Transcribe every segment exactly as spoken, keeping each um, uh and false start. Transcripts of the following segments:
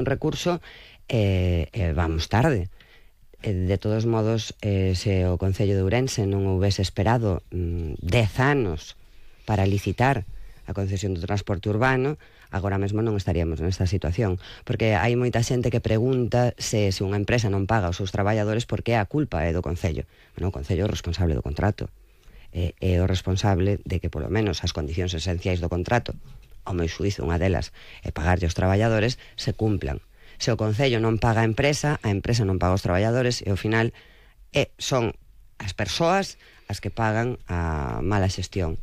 un recurso e eh, eh, vamos tarde. De todos modos, eh, se o Concello de Ourense non houvese esperado mm, dez anos para licitar a concesión do transporte urbano, agora mesmo non estaríamos nesta situación. Porque hai moita xente que pregunta se, se unha empresa non paga aos seus traballadores porque a culpa é do Concello. Bueno, o Concello é o responsable do contrato. É, é o responsable de que, polo menos, as condicións esenciais do contrato, ao meu xuízo, unha delas é pagarlle aos traballadores, se cumplan. Se o Concello non paga a empresa, a empresa non paga os traballadores e ao final eh, son as persoas as que pagan a mala xestión.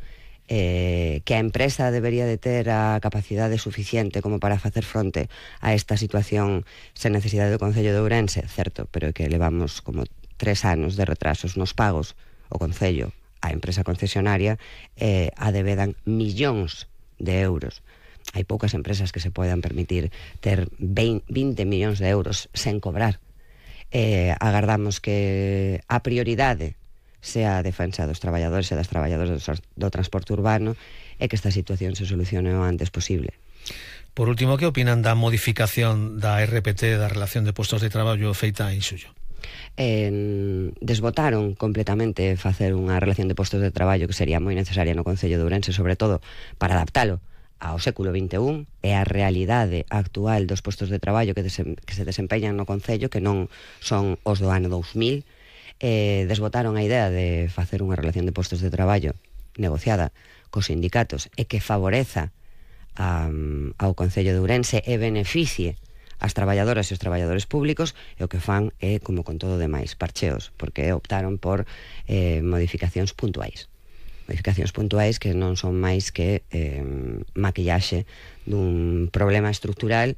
Eh, que a empresa debería de ter a capacidade suficiente como para facer fronte a esta situación sen necesidade do Concello de Ourense, certo, pero que levamos como tres anos de retrasos nos pagos, o Concello, a empresa concesionaria, eh, a debedan millóns de euros. Hai poucas empresas que se podan permitir ter vinte millóns de euros sen cobrar. Eh, agardamos que a prioridade sea a defensa dos traballadores e das traballadoras do transporte urbano e que esta situación se solucione o antes posible. Por último, que opinan da modificación da R P T, da relación de postos de traballo feita en xullo? Eh, desbotaron completamente facer unha relación de postos de traballo que sería moi necesaria no Concello de Ourense, sobre todo para adaptalo ao século vinte e un e a realidade actual dos postos de traballo que, desem, que se desempeñan no Concello, que non son os do ano dous mil. Eh, desbotaron a idea de facer unha relación de postos de traballo negociada cos sindicatos e que favoreza um, ao Concello de Ourense e beneficie as traballadoras e os traballadores públicos, e o que fan é, como con todo demais, parcheos, porque optaron por eh, modificacións puntuais. Modificacións puntuais que non son máis que eh, maquillaxe dun problema estructural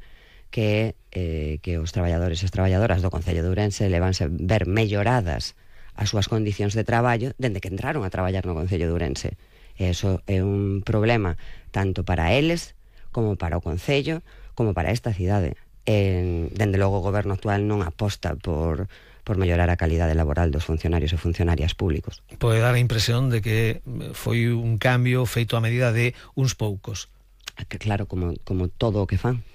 que eh, que os traballadores e as traballadoras do Concello de Ourense levanse ver melloradas as súas condicións de traballo dende que entraron a traballar no Concello de Ourense. E iso é un problema tanto para eles como para o Concello como para esta cidade. E, dende logo o goberno actual non aposta por por mellorar a calidade laboral dos funcionarios e funcionarias públicos. Pode dar a impresión de que foi un cambio feito a medida de uns poucos. Que claro, como, como todo o que fan.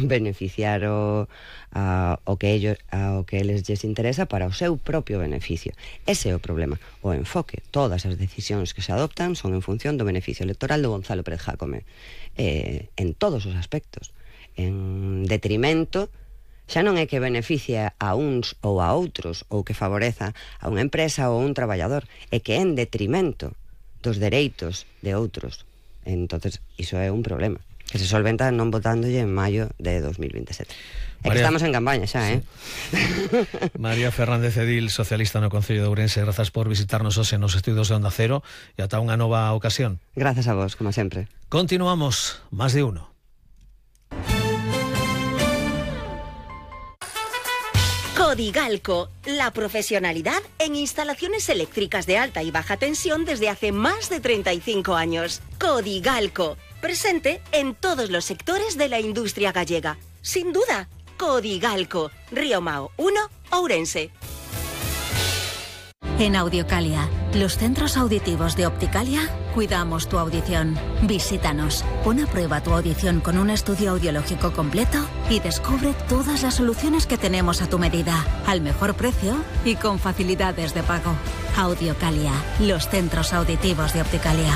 Beneficiar o, a, o, que ellos, a, o que eles lles interesa para o seu propio beneficio. Ese é o problema. O enfoque, todas as decisións que se adoptan son en función do beneficio electoral do Gonzalo Pérez Jácome. Eh, en todos os aspectos. En detrimento, xa non é que beneficia a uns ou a outros, ou que favoreza a unha empresa ou a un traballador, é que é en detrimento dos dereitos de outros. Entonces, iso é un problema que se solventa non votándolle en maio de dos mil veintesete. É que estamos en campaña xa, sí. eh? María Fernández Edil, socialista no Concello de Ourense, grazas por visitarnos hoxe nos estudios de Onda Cero e ata unha nova ocasión. Grazas a vos, como sempre. Continuamos, Más de Uno. Codigalco, la profesionalidad en instalaciones eléctricas de alta y baja tensión desde hace más de treinta y cinco años. Codigalco, presente en todos los sectores de la industria gallega. Sin duda, Codigalco, Río Mao uno, Ourense. En Audiocalia, los centros auditivos de Opticalia, cuidamos tu audición. Visítanos, pon a prueba tu audición con un estudio audiológico completo y descubre todas las soluciones que tenemos a tu medida, al mejor precio y con facilidades de pago. Audiocalia, los centros auditivos de Opticalia.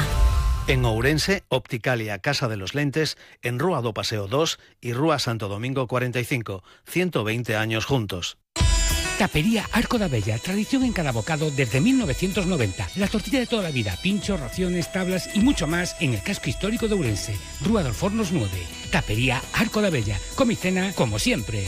En Ourense, Opticalia, Casa de los Lentes, en Rúa do Paseo dos y Rúa Santo Domingo cuarenta y cinco, ciento veinte años juntos. Tapería Arco da Bella, tradición en cada bocado desde mil novecientos noventa. La tortilla de toda la vida, pinchos, raciones, tablas y mucho más en el casco histórico de Ourense. Rúa dos Fornos nueve. Tapería Arco da Bella. Come y cena como siempre.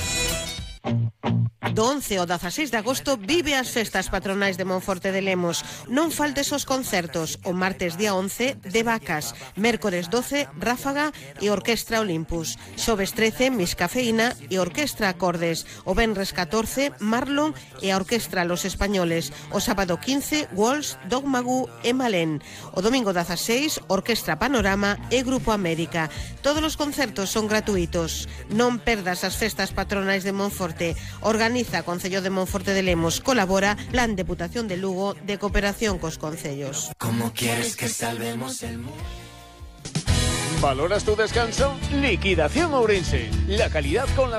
Do once ao dezaseis de agosto vive as festas patronais de Monforte de Lemos. Non faltes os concertos. O martes día once, de Vacas. Mércores doce, Ráfaga e Orquestra Olympus. Xoves trece, Miss Cafeína e Orquestra Acordes. O venres catorce, Marlon e a Orquestra Los Españoles. O sábado quince, Walsh, Dogmagu e Malén. O domingo dezaseis, Orquestra Panorama e Grupo América. Todos os concertos son gratuitos. Non perdas as festas patronais de Monforte. Organiza Concello de Monforte de Lemos. Colabora Plan Deputación de Lugo de cooperación cos concellos. ¿Cómo quieres que salvemos el mundo? ¿Valoras tu descanso? Liquidación Ourense. La calidad con las